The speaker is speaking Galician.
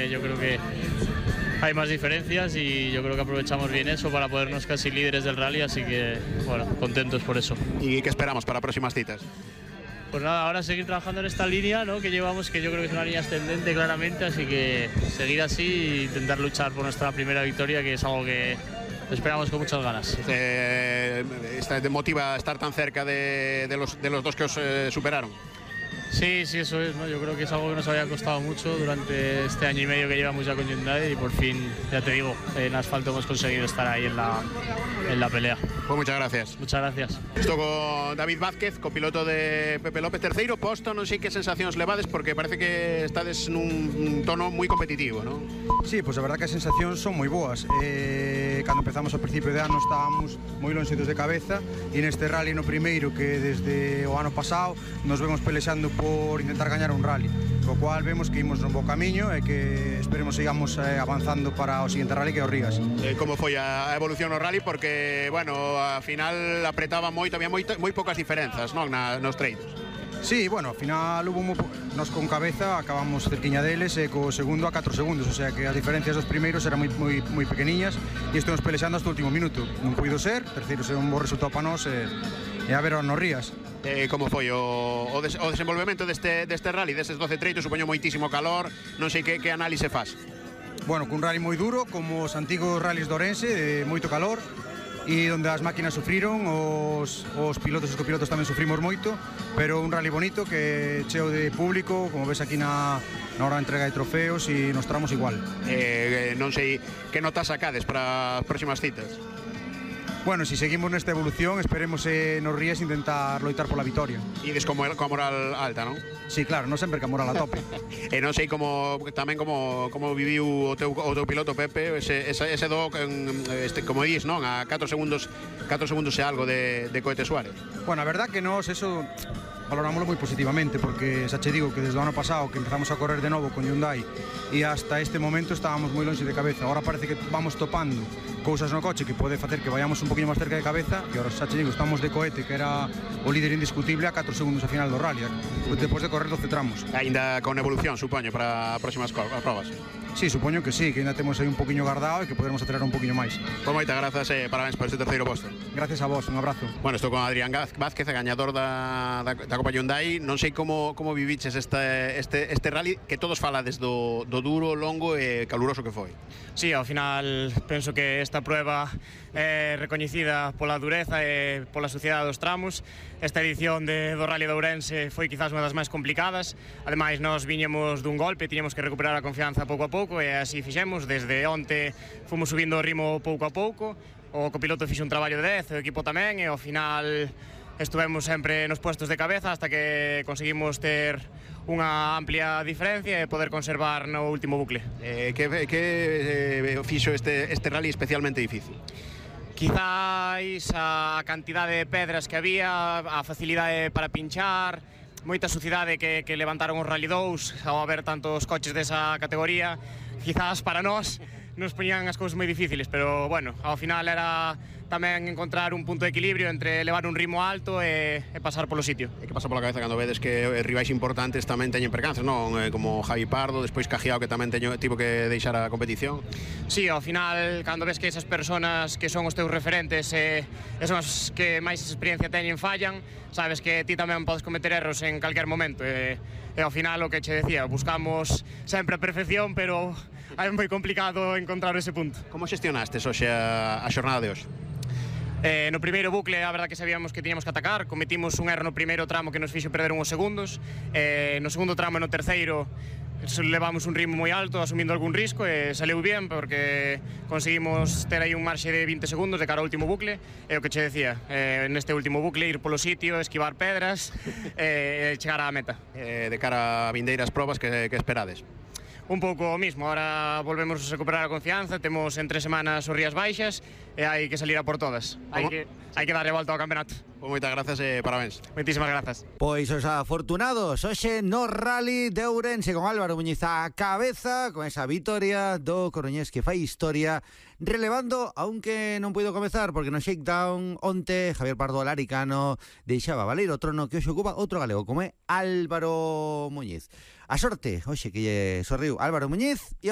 yo creo que hay más diferencias y yo creo que aprovechamos bien eso para podernos casi líderes del rally, así que bueno, contentos por eso. ¿Y qué esperamos para próximas citas? Pues nada, ahora seguir trabajando en esta línea, ¿no?, que llevamos, que yo creo que es una línea ascendente claramente, así que seguir así e intentar luchar por nuestra primera victoria, que es algo que esperamos con muchas ganas. ¿Te motiva estar tan cerca de los dos que os superaron? Sí, eso es, ¿no? Yo creo que es algo que nos había costado mucho durante este año y medio que llevamos ya con Hyundai y por fin, ya te digo, en asfalto hemos conseguido estar ahí en la pelea. Pues muchas gracias. Muchas gracias. Estou con David Vázquez, copiloto de Pepe López, terceiro posto, non sei que sensacións levades porque parece que estades nun tono moi competitivo, non? Sí, pois a verdad que as sensacións son moi boas. Cando empezamos ao principio de ano estábamos moi lonxitos de cabeza e neste rally no primeiro que desde o ano pasado nos vemos pelexando por intentar gañar un rally, co cual vemos que imos no bo camiño e que esperemos sigamos avanzando para o seguinte rally que é o Rigas. Como foi a evolución no rally? Porque, bueno, a final apretaba moito, había moi poucas diferenzas, non, nos treinos. Sí, bueno, ao final nos con cabeza acabamos cerquiña deles e co segundo a 4 segundos, o sea que as diferencias dos primeiros eran moi pequeniñas e estamos pelexando hasta o último minuto. Non puido ser, terceiro ser un bo resultado para nós e a ver nos Rías. Como foi o desenvolvemento deste rally, destes 12 treitos? Supoño moitísimo calor, non sei que análise faz. Bueno, cun rally moi duro, como os antigos rallies de Ourense, de moito calor, e onde as máquinas sufriron, os pilotos e os copilotos tamén sufrimos moito, pero un rally bonito que cheo de público, como ves aquí na hora de entrega de trofeos, e nos tramos igual. Non sei que notas sacades para as próximas citas. Bueno, si seguimos nesta evolución, esperemos nos Rías intentar loitar pola vitoria. Ides coa moral alta, non? Sí, claro, non sempre que a moral a tope. E non sei como viviu o teu piloto Pepe, ese do, como dis, non? A 4 segundos e algo de Cohete Suárez. Bueno, a verdad que nós eso valorámoslo moi positivamente, porque xa che digo que desde o ano pasado que empezamos a correr de novo con Hyundai e hasta este momento estábamos moi longe de cabeza. Ahora parece que vamos topando cousas no coche que pode facer que vayamos un poquinho máis cerca de cabeza, e ahora xa che digo, estamos de Cohete, que era o líder indiscutible, a 4 segundos a final do rally, depois de correr 12 tramos. Ainda con evolución, supoño, para próximas probas. Sí, supoño que sí, que ainda temos aí un poquinho guardado e que poderemos acelerar un poquinho máis. Pois moitas grazas e parabéns por este terceiro posto. Gracias a vos, un abrazo. Bueno, estou con Adrián Vázquez, gañador da Copa Hyundai. Non sei como viviches este rally, que todos falades do duro, longo e caluroso que foi. Sí, ao final penso que esta prueba é recoñecida pola dureza e pola suciedade dos tramos. Esta edición do Rally de Ourense foi quizás unha das máis complicadas. Ademais, nós viñemos dun golpe, tiñamos que recuperar a confianza pouco a pouco e así fixemos. Desde onte fomos subindo o ritmo pouco a pouco. O copiloto fixe un traballo de 10, o equipo tamén, e ao final estuvemos sempre nos puestos de cabeza hasta que conseguimos ter unha amplia diferencia e poder conservar no último bucle. Que fixo este rally especialmente difícil? Quizáis a cantidade de pedras que había, a facilidade para pinchar, moita sucidade que levantaron os Rally 2 ao haber tantos coches desa categoría. Quizás para nós nos poñían as cousas moi difíciles, pero bueno, ao final era tamén encontrar un punto de equilibrio entre levar un ritmo alto e pasar polo sitio. E que pasa pola cabeza cando vedes que rivais importantes tamén teñen percances, non? Como Javi Pardo, despois Cajiao, que tamén tivo que deixar a competición. Sí, ao final, cando ves que esas personas que son os teus referentes e son os que máis experiencia teñen fallan, sabes que ti tamén podes cometer erros en calquer momento. E ao final, o que che decía, buscamos sempre a perfección, pero é moi complicado encontrar ese punto. Como xestionastes hoxe a xornada de hoxe? No primeiro bucle, a verdad que sabíamos que tiñamos que atacar. Cometimos un erro no primeiro tramo que nos fixo perder uns segundos. No segundo tramo e no terceiro levamos un ritmo moi alto, asumindo algún risco, e saleu bien porque conseguimos ter aí un marxe de 20 segundos de cara ao último bucle. E o que che decía, neste último bucle ir polo sitio, esquivar pedras e chegar á meta. De cara a vindeiras probas, que esperades? Un pouco o mismo, ahora volvemos a recuperar a confianza, temos en 3 semanas os Rías Baixas e hai que salir a por todas. Hai que darle volta ao campeonato. Pois moitas grazas e parabéns. Moitísimas grazas. Pois os afortunados hoxe no Rally de Ourense, con Álvaro Muñiz á cabeza, con esa vitoria do coruñés que fai historia, relevando, aunque non puido comezar porque no shakedown onte Javier Pardo Alaricano deixaba valer o trono que hoxe ocupa outro galego, como é Álvaro Muñiz. A sorte hoxe que lle sorriu Álvaro Muñiz e